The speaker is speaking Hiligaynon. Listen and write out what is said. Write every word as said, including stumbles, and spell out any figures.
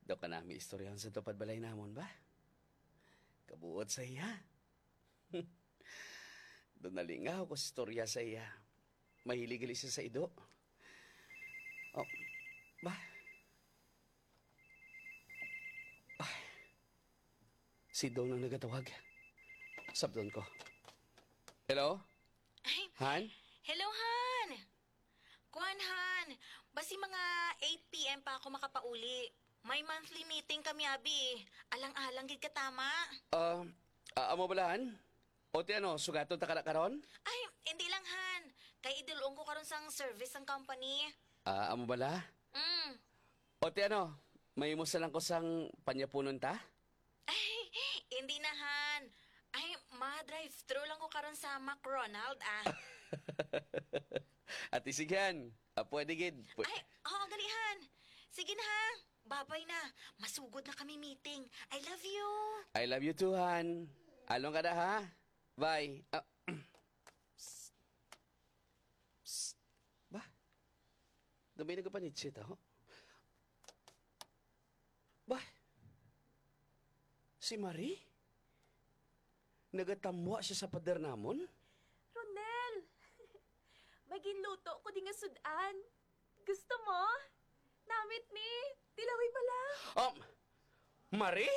Daw ka nami istoryahan sa tupad balay namon ba? Kabuot sa iya. Daw nalingaw ko sa istorya sa iya. Mahilig gali siya sa ido. Oh, ba? Ay, si Dong ang nagatawag. Sabdon ko. Hello? Ay, Han? Hello, Han! Kuan, Han. Basi mga eight p m pa ako makapauli. May monthly meeting kami, abi. Alang-alang gid katama. Ah, ah, amo bala, Han? O ti ano, sugaton ta kana karon? Ay, hindi lang, Han. Kay idulong ko karon sang service sang company. Ah, amo bala? Mm. O ti ano, may mo lang ko sang panyapunon ta? Ay, hindi na, Han. Ay, ma-drive-thru lang ko karon sa McRonald, ah. Ati, sige, Han. Ah, pwede gid. Pwe- Ay, oo, gali, Han. Sige na, ha. Babay na. Masugod na kami meeting. I love you. I love you too, Han. Along ka na, ha? Bye. Ah, psst. Ba? Gamay nagapanitsit, ho? Ba? Si Marie? Nagatamwa siya sa pader namon? Ronel! May ginluto ko di nga sud-an. Gusto mo? Namit ni. Tilawi bala. Um, Marie?